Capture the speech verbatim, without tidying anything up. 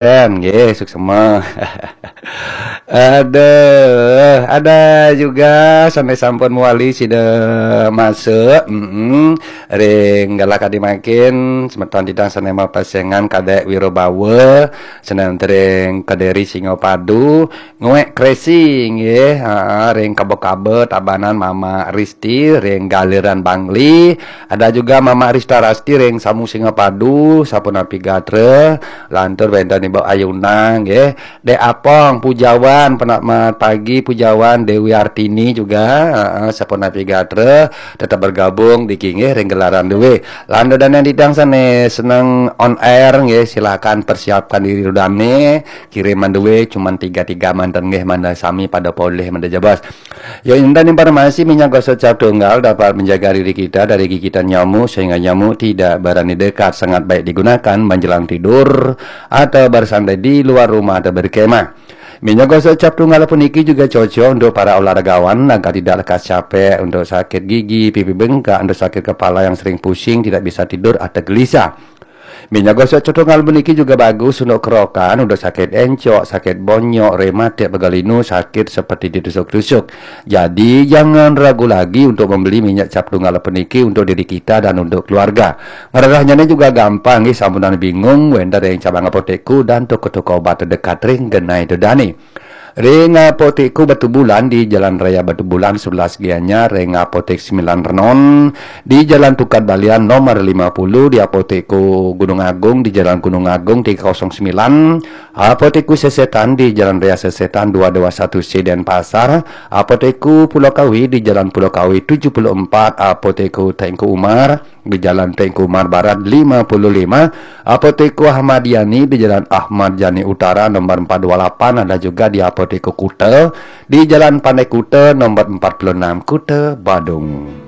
Ken, nggih, suksma. Aduh, ada juga sané sampun mawali sida masuk. Mm-mm. Ring galah kadi mangkin semeton titiang sané mapesengan Kadék Wirabawa, sané ring Kediri Singapadu, Nguék Kresi nggih, ha, ring Kaba-Kaba Tabanan Mama Risti, ring Galiran Bangli, ada juga Mama Rista Rasti ring Samu Singapadu, sapunapi gatra, lantur wénten Ibu Ayuna nggih. Dék Apong Pujawan, penamat pagi Pujawan, Dewi Artini juga, heeh, sapunapi gatra, tetap bergabung di kinggih ring gelaran duwé. Lan ida dané titiang sané seneng on air nggih, silakan persiapkan diri ida dané, kiriman duwé cuman tiga-tiga manten nggih, mangda sami pada polih mangda jebos. Ya, intan informasi minyak gosok cap tunggal dapat menjaga diri kita dari gigitan nyamuk sehingga nyamuk tidak berani dekat, sangat baik digunakan menjelang tidur atau bersantai di luar rumah atau berkemah. Minyak gosok cap tunggal puniki juga cocok untuk para olahragawan agar tidak lekas capek, untuk sakit gigi, pipi bengkak, untuk sakit kepala yang sering pusing, tidak bisa tidur atau gelisah. Minyak gosok cap tunggal puniki juga bagus untuk kerokan, untuk sakit encok, sakit bonyok, rematik, pegal linu, sakit seperti ditusuk-tusuk. Jadi jangan ragu lagi untuk membeli minyak cap tunggal puniki untuk diri kita dan untuk keluarga. Ngrerahnyané juga gampang nggih, sampunang bingung, wénten ring cabang apotekku dan toko-toko obat terdekat ring genah ida dané. Ring Apotekku Batubulan di Jalan Raya Batubulan sebelas Gianyar, ring Apotek Sembilan Renon di Jalan Tukad Balian nomor lima puluh, di Apotekku Gunung Agung di Jalan Gunung Agung tiga kosong sembilan, Apotekku Sesetan di Jalan Raya Sesetan dua dua satu C Denpasar, Apotekku Pulau Kawi di Jalan Pulau Kawi tujuh puluh empat, Apotekku Tengku Umar di Jalan Tengku Umar Barat lima puluh lima, Apotekku Ahmad Yani di Jalan Ahmad Yani Utara nomor empat dua lapan, ada juga di Apotekku Kuta di Jalan Pantai Kuta nomor empat puluh enam, Kuta Badung.